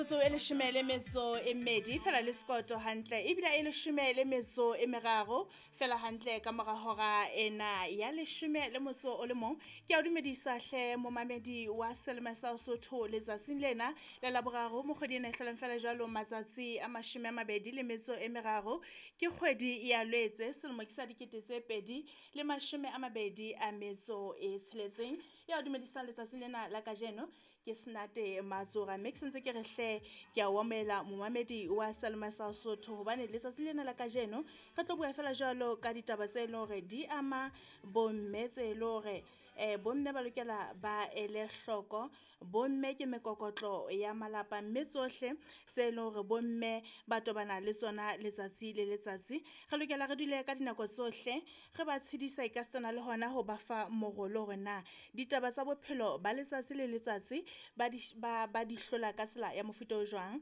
Metsotso e leshome le metso e mmedi fela le sekoto hantle, ebile e leshome le metso e meraro fela hantle ka mora hora ena ya leshome le motso o le mong. Ke a o dumedisa hle momamedi wa Selema sa Sotho letsatsing lena la Laboraro mo kgwedi ena e hlolang fela jwalo matsatsi a 23, ke kgwedi ya Lwetse selemo ke sa 2026. Ya o dumedisang letsatsing lena la kajeno ke Senate Matsora, mme ke sentse ke re hle ke a o amohela momamedi wa Selema sa Sotho hobane letsatsi lena la kajeno re tlo bua fela jwalo ka ditaba tse leng hore di ama bomme, tse leng hore bomme ba lokela ba ele hloko. Bomme ke mekokotlo ya malapa, mme tsohle tse leng hore bomme ba tobana le tsona letsatsi le letsatsi, re lokela re dule ka dinako tsohle re ba tshedisa ekasitana le hona ho ba fa morolo hore na ditaba tsa bophelo ba letsatsi le letsatsi ba di ba di hlola ka tsela ya mofuta o jwang.